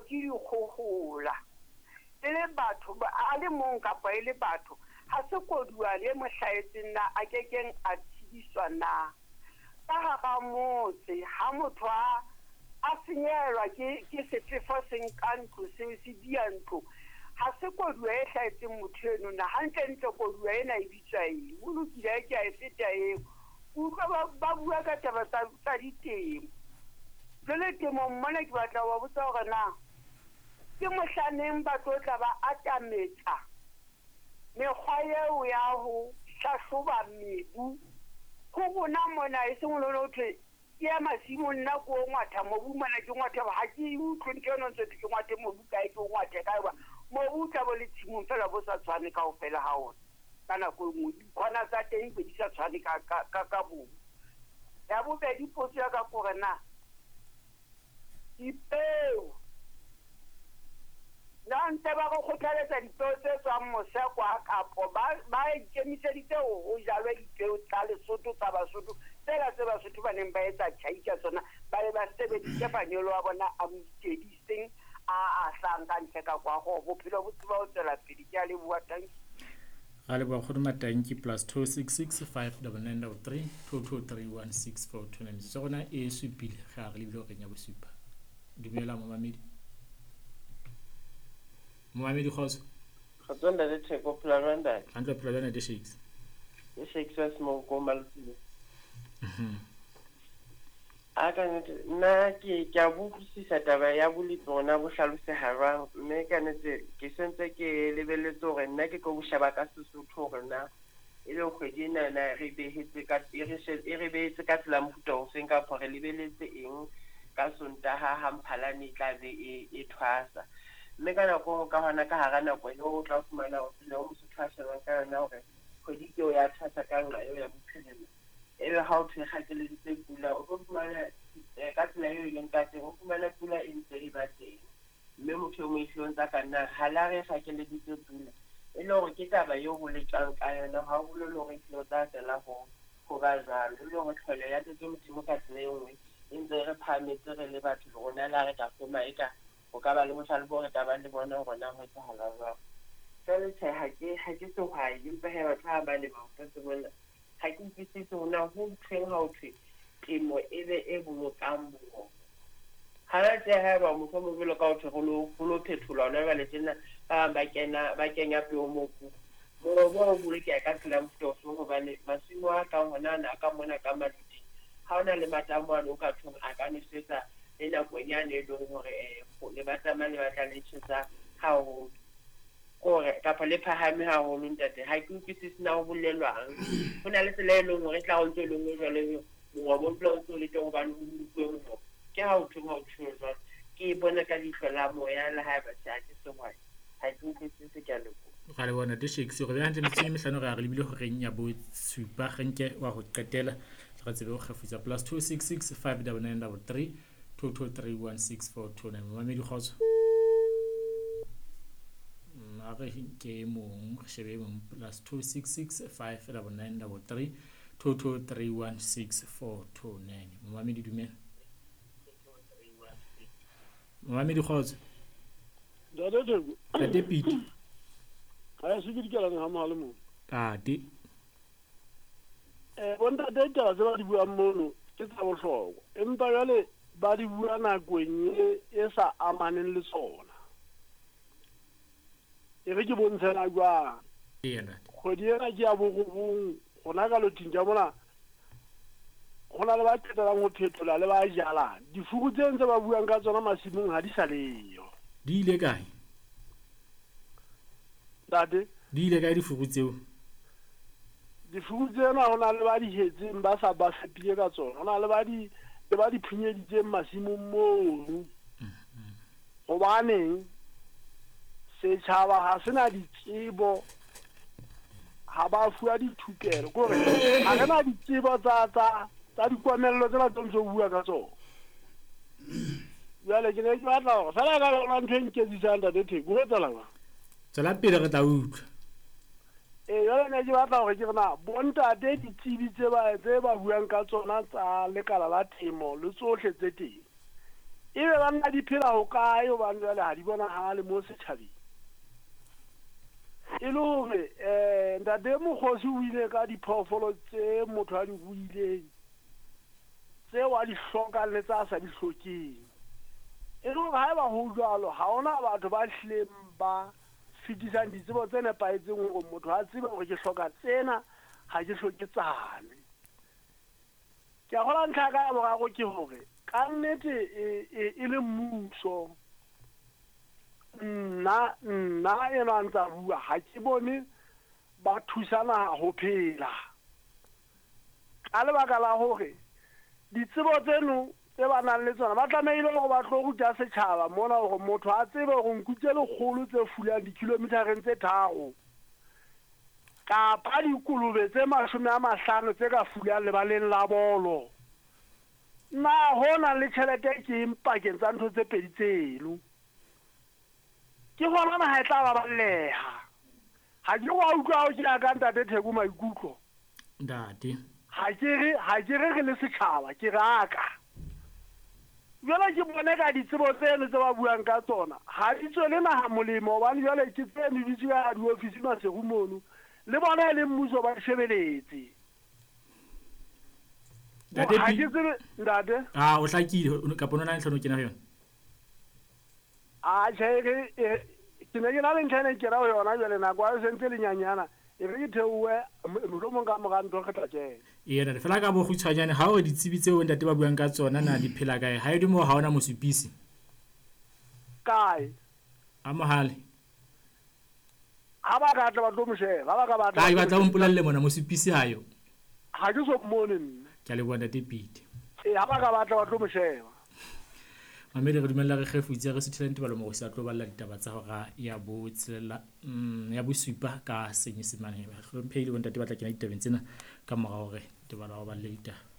ke dikgohola. E le batho a le mong kapa e le batho, ha se koduwa le mo hlahetseng na a kekeng a tshediswa na? Ka hara motse ha motho a senyehelwa ke sefefo se nka ntlo, se diya ntlo, ha se koduwa e hlahetseng motho eno na? Hantlentle koduwa ena e bitswa eng? Ho lokile, ke a e feta eo. Utlwa ba bua ka taba tsa ditemo. Jwale temong mona ke batla ho ba botsa hore na ke mohlaneng ba tlo tla ba atametsa mekgwa eo ya ho hlahloba mebu ho rona mona, e seng le ho thwe ke ya masimong, nna ko ngwatha mobu mona, ke ngwatha, ha ke utlwe ntho eno ntse ke ngwathe mobu kae, ke o ngwathe kae, hoba mobu o tla bo le tshimong feela bo sa tshwane kaofela ha ona. Ka nako e nngwe dikhona tsa teng be di sa tshwane ka mobu. Ya bobedi, potso ya ka kore na dipeo na ntse ba re kgothaletsa dipeo tse tswang mose kwa, kapo ba ikemiseditse ho jalwe dipeo tsa Lesotho, tsa Basotho, tsela tse Basotho ba neng ba etsa tjhai ka tsona, ba be ba sebedise manyolo a bona a moitedi seng a hlang ka ntle ka kwa, go bophelo bo tseba ho tswela pele. Ke a leboha, thank you. Ga leboha kgono Matanki. +266 599 3 223 16429. Metsotso ya rona e supile ge a re lebile horeng ya bosupa. Dumela momamedi. Momamedi, kgotso. Kgotso ntate Theko, phela jwang ntate? Hantle, phela jwang ntate Shakes? Ke Shakes wa Semoko Malotile. A ka nnete nna ke a bo utlwisisa taba ya bolepi rona bo hlaloseha jwang, mme ka nnete ke sentse ke lebelletse hore nna ke tlo bo sheba ka Sesotho hore na e le kgwedi ena na re behetse ka e re e re behetse ka tsela mofuta ofeng, kapa re lebeletse eng ka Sontaha ha Mphalane e tla be e thwasa. Mme ka nako ka hona ka hara nako eo o tla fumana hore tsela eo Mosotho a shebang ka yona hore kgwedi ke eo ya thwasa ka nqa eo ya bophirima, ebe ha o thwe kgakeleditse pula, o tlo fumana ka tsela eo e leng ka teng, o fumana pula e ntse e ba teng, mme motho e mong ehlile o ntsa ka nna ha la re kgakeleditse pula, e le hore ke taba eo ho letjwang ka yona, ha ho bolele hore ehlile o tla fela ho ba jwalo. E le hore tlholo ya Ntate Modimo ka tsela e nngwe e ntse e re phahametse re le batho, le rona le ha re ka hloma eka ho ka ba le bohlale bo re ka bang le bona hore na ho etsahala jwang. Jwale tjhe, ha ke sehwai, empa hee batho ha ba lema mofetshe mona, ha ke utlwisise hore na ho thweng ha ho thwe temo e be e bolokang mongobo. Hana tje haeba mohlomong jwalo ka ho thwe ho lo phetholwa hona jwale tjena, ba bang ba kena ba kenya peo mobung. Mongobo o bolokeha ka tsela ya mofuta ofeng, hobane masimo a kang hona ana a ka mona ka Maluti, ha hona le matamo ano o ka thong a ka nwesetsa le nakong yane e leng hore lebatama le batla le tjhesa haholo, kore kapa le phahame haholo ntate. Ha ke utlwisise na ho bolelwang. Ho na le tsela e leng hore e tla o ntso e leng jwale mongobo o dula o ntso le teng hobane ho bolokuwe mongobo. Ke ha ho thweng ha ho thuwe jwalo, ke e bone ka leihlo la moya, le haeba tjhe ha ke sehwai, ha ke utlwisise, ke a leboha. Ra leboha ntate Shakes. Re beha hantle metsotso e mehlano re a re lebile horeng ya bosupa. Re nke wa ho qetela re tsebe ho kgefutsa. +266 599 3 223 16429. Momamedi, kgotso. A re nke e mong, re shebe e mong. +266 599 3 223 16429. Momamedi, dumela. Momamedi, kgotso. Ntate Theko. Ntate Pete. Ha se ke dikelane ha mohale mo. Tate. Bontate, ditaba tse ba di buang mono ke tsa bohlokwa, empa jwale ba di bua nakong e sa amaneng le tsona. E re ke bontshela jwang? Eya ntate. Kgwedi ena ke ya borobong, rona ka loting ka mona ho na le ba qetelang ho phethola le ba jalang. Difuru tse ntse ba buang ka tsona masimong ha di sa leyo. Di ile kae? Ntate? Di ile kae difuru tseo? Difuru tsena ho na le ba di hetseng ba sa ba fepile ka tsona. Ho na le ba di le ba di phunyeditseng masimong mono. Hobaneng setjhaba ha se na ditsebo, ha ba fuwa dithupelo, ke hore ha re na ditsebo tsa dikomello tsena tse ntse o bua ka tsona. Jwale ke ne ke batla hore feela ka yona ntho e nketsisang ntate Theko, ho etsahala jwang? Tswela pele, re tla utlwa. Ee, jwale ne ke batla hore ke re na bontate ditsebi tse ba buang ka tsona tsa lekala la temo le tsohle tse teng, Ebe banna di phela hokae hobane jwale ha di bonahale mo setjhabeng. E le hore ntate Mokgosi o ile ka diphoofolo tse motho a di ruileng, tseo a di hlokang le tsa a sa di hlokeng. E le hore haeba ho jwalo, ha hona batho ba hlileng ba fetisang ditsebo tse nepahetseng hore motho a tsebe hore ke hloka tsena, ha ke hloke tsane. Ke a kgolwa ntlha ya ka ya boraro ke hore ka nnete e le mmuso, nna nna enwa a ntsa bua ha ke bone ba thusa naha ho phela. Ka lebaka la hore ditsebo tseno tse ba nang le tsona ba tlamehile hore ba tlo ruta setjhaba mona hore motho a tsebe hore nku tse lekgolo tse fulang dikilometereng tse 3 kapa dikolobe tse 50 tse ka fulang lebaleng la bolo. Na ho nang le tjhelete ke eng pakeng tsa ntho tse pedi tseno? Ke hona naha e tla baballeha. Ha ke wa utlwa ha o ke ya ka ntate Theko maikutlo. Ntate. Ha ke re re le setjhaba, ke re aka. Jwale ke bone ka ditsebo tseno tse ba buang ka tsona, ha di tswele naha molemo hobane jwale ke tseno di tswa diofisi Maseru mono. Le bona e le mmuso ba shebeletse. Ntate ha ke tsebe ntate. Ah, o hlakile kapa o na le tlhono kena ho yona? A tjhe ke ne ke na le ntlha e ne ke ra ho yona jwale nako ha e sentse le nyanyana. E re ke theohe mohlomong ka mora ntho re tla kena. Ee ntate, fela ka bokgutshwanyane ha o ditsebi tseo ntate ba buang ka tsona na di phela kae? Ha e le moo ha ona mosupisi. Kae? A mohale. Ha ba ka tla ba tlo mo sheba, ha ba ka batla. Ai batla o mpolelle mona mosupisi ha yo. Ha ke so mmone nna. Ke a leboha ntate Pete. Ee, ha ba ka batla ba tlo mo sheba. Mamedi re dumella re kgefutse re suthela Ntebalo Morosi a tlo balla ditaba tsa hora ya botshelela ya bosupa ka Senyesemane. Hlomphehile bontate ba tla kena ditabeng tsena ka mora hore Ntebalo a balle ditaba.